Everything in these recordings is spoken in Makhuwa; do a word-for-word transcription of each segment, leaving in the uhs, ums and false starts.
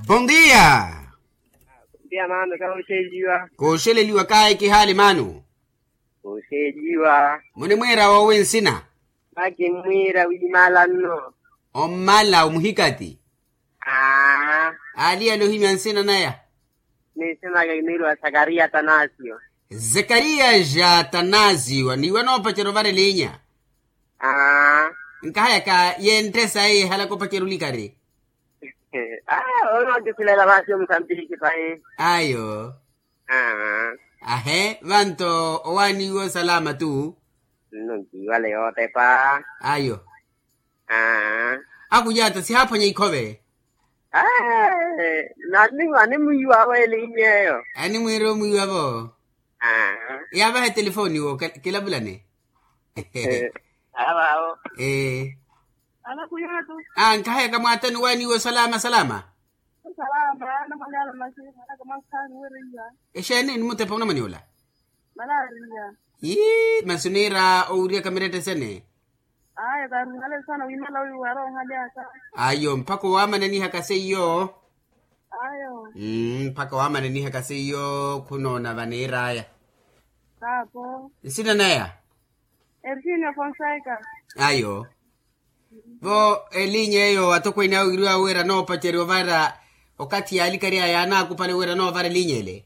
Bondia. Bondia mano kawoxeliwa. Koxeleliwa kaye kihali mano. Koxeliwa. Munimwira wowi nsina? Makimwira wimalanno. Ommala omuhikati. Aa. Aliyala ohimya nsina naya? Ni nsina ake kimwiriwa sakariya atanasio. Zakariya ja atanasio niwa noopacerya ovara elinya. Aa. Nkahayaka yenttesa eye ehalaka opacerya olikari. Aa onookisulela vaasi omusambiki payi. Ayo. Aa. Ahe vanto owaaniwa osalama tu. Nno nkiwale yootepa. Ayo. Aa. Akujaata sihaaphwanya ikhove. Aa. Nani animwiiwa avo elinya eyo. Animwiira omwiiwa vo. Aa. Yaavaha etelefoni wo kilavulane. Aa. Nkahayaka mwaatani owaaniwa osalama salama. Exeeni ni mutepa onamwani ola? Yii masi oniira owiriyaka miretta esene. Ayo mpakha owaamananihaka seiyo. Mpakha owaamananihaka seiyo khunoona vaniiraya. Nsina naya? Ayo. Vo elinya eyo atokweene awo iriwa wira noopacerya ovara okathi yaalikari aya yaanaakupale wira noovara elinya ele.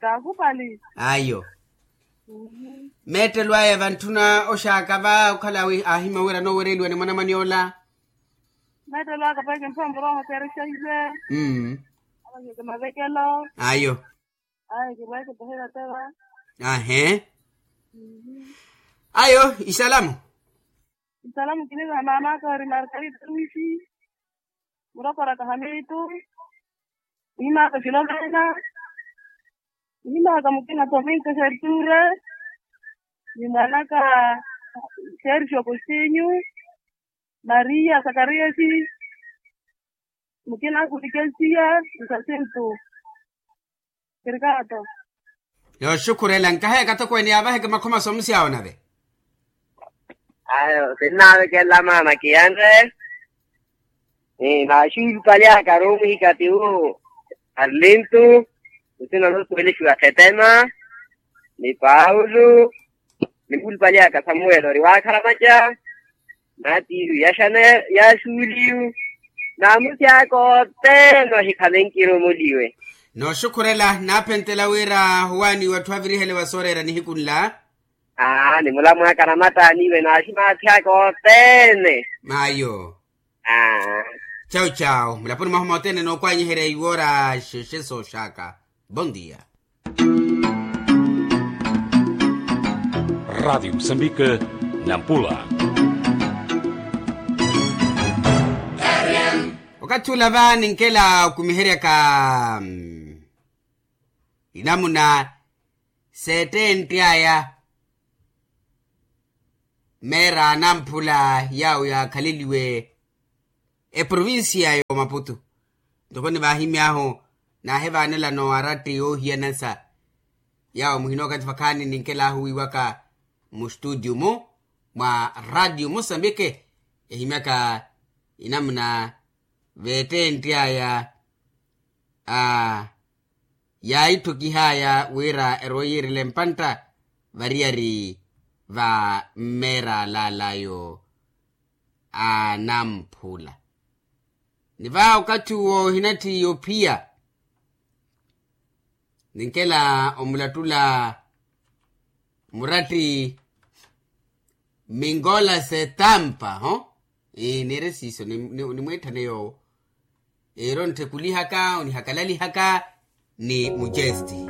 Kaakupali. Ayo. Meettelo aya vantthuna oxaaka va okhala aahimya wira noowereliwa ni mwanamwane ola. Meettelo aka pweeke mpompo rooho seerexahiwe. Mmm. Avakeke mavekelo. Ayo. Ayo kirweke pehela teva. Ahe. Ayo isalamu. Isalamu kinivaha maamaka ori margarita luisi. Murokoraka hamitu. Mwimaaka filomena. Mwimaaka mukina tominka serture. Ni mwanaka sergio kostinyu. Maria sakariasi. Mukina kulikensiya. Nsasintu. Kirikaato. Yooxukhurela nkahayaka atokweene yaavaheke makhoma soomusi awo nave. Ayo sinnaavekela maana kiyane. Naaxuulupali aka aruumihi katiwu. Arlintu. Nsina noosuwelixiwa khetema. Ni paulo. Ni muulupali aka samuwelo ori waakharamaca. Naatiiru yaxuuliyu. Naamusi aka othene ohikhamenkire omuliwe. Nooxukhurela naaphentela wira owaaniwa atthu avirihele wa sooreera nihiku nla. Aa ni mulamwaaka namattaaniwe naaximaathi aka othene. Ayo. Aa. Cawu cawu mulaponi mwahu mothene nookwanyeherya iwoora xexe sooxaka. Bondia. Radiyo musambike. Nampula. Okathi ula va ninkela okumiheryaka inamuna seettentti aya. Meera anamphula yaawo yaakhaleliwe eprovincia ya omaputu. Ntoko ni vaahimy'ahu naahivaanelano aratti oohiyanasa. Yaawo muhina okathi vakhaani ninkel'ahu wiiwaka mustutio-mu mwa ratio musambike ehimyaka inamuna veettentti aya. Yaaitthukih'aya wira erooyiirela empantta variyari va mmeer'al'alayo anamphula. Ni va okathi uwo ohinatthi ophiya ninkela omulattula muratti mingola setampa ho. Niire siiso nimwiitthane yoowo. Ero ntthekulihaka onihakalalihaka ni mujesti.